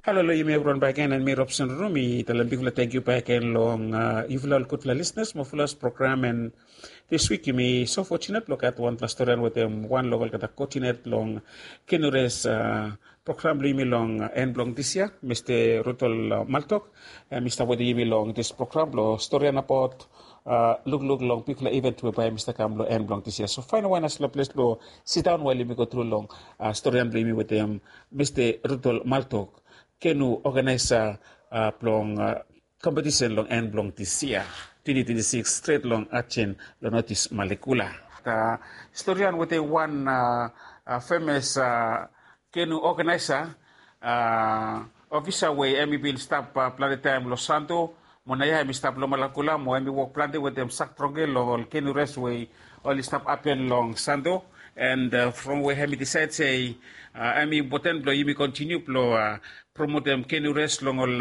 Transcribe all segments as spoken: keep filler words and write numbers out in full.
Halo long yumi evriwan bakegen, and mi Robson Ruru mi talem bigfala tangkiu bakegen long yufala ol gudfala lisenas mo folos program. And dis wik yumi so fotsunet blong gat wanfala storian wetem wan long olgeta koodinet blong kenu res program blong yumi long en blong dis yia, Mista Rudol Maltok. Hem i stap wetem yumi long dis program blong storian abaot lukluk long bigfala iven we bae hem i stap kam long en blong dis yia. So faenem wan nasfala ples blong sidaon wael yumi go tru long storian blong yumi wetem Mista Rudol Maltok, kenu oganaesa blong kompetisen long en blong dis yia, twenti twenti sikis, stret long Ajen long Notis Malekula. Storian wetem wan femes kenu oganaesa ofisa we hem i bin stap plante taem long Santo, mo naoia hem i stap long Malakula, mo hem i wok plante wetem Sak Trongke long ol kenu res we oli stap hapen long Santo. And from we hem i disaed se hem i impoten blong yumi kontiniu blong promotem kenu res long ol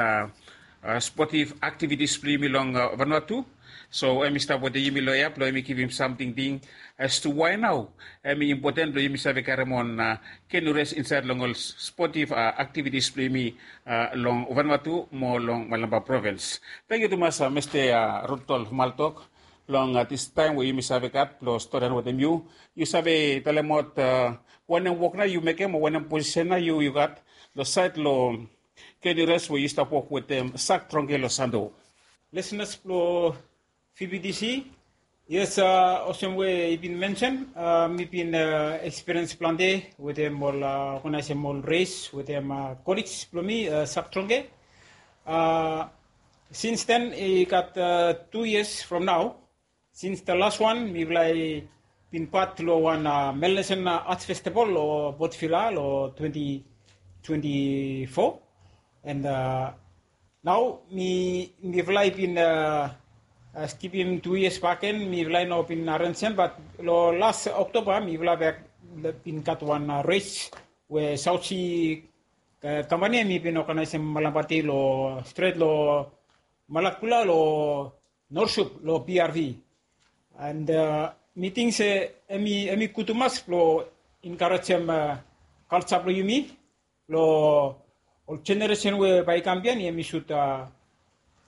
spotiv aktivitis blong yumi long Vanuatu. So hem i stap wetem yumi long ya blong hem i givim sam tingting as to wae nao hem i impoten blong yumi save karem on kenu res insaed long ol spotiv aktivitis blong yumi long Vanuatu mo long Malampa provins. Tangkiu tumas, Mista Rudolf Maltok, long distaem we yumi save gat blong storian wetem yu. Yu save talemaot wanem wok nao yu mekem o wanem posisen nao yu yu gat long saed long kenu res we yu stap wok wetem Sak Trongke long Santo? Lisenas blong V B T C, yes, olsem we i bin mensen, mi bin ekspiriens plante wetem ol oganaesem ol res wetem kolej blong mi, Sak Trongke. Sins den i gat tu yias from nao. Sins the last one mifala i bin pat long wan Melanesian Arts Festival long Port Vila long twenti twenti fo. And nao mifala i bin skipim tu yias bakegen, mifala i no bin arenjem, bat long las Oktoba mifala bek bin gat wan res we Saot Si kampani hem i bin oganaesem Malampa Dei long stret long Malakula long Norsup long P R V. And mi ting se hem i gud tumas blong enkarejem kalja blong yumi blong ol jeneresen we bae i kam biaen hem i sud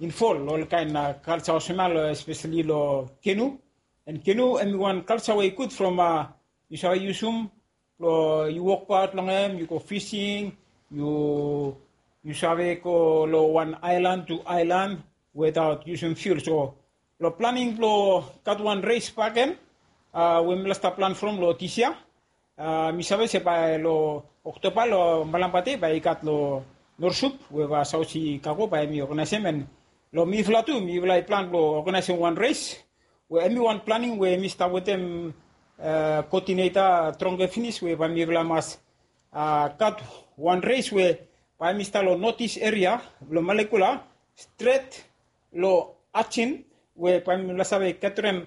invol long ol kaen kalja olsem ya, espeseli long kenu. And kenu hem i wan kalja we i gud from yu save yusum blong yu wokbaot long hem, yu go fising, yu yu save go long wan aelan tu aelan wetaot yusum fiul. So long planing blong gat wan res bakegen we mifala stap plan from long dis yia, mi save se bae long Oktoba long Malampa Dei bae i gat long Norsup we bae Saot Si Kago bae hem i oganaesem. And long mifala tu mifala i plan blong oganaesem wan res we hem i wan planing we mi stap wetem koodineta Trongke finis we bae mifala mas gat wan res we bae hem i stap long Notis eria blong Malekula stret long Ajen, we bae mifala save geterem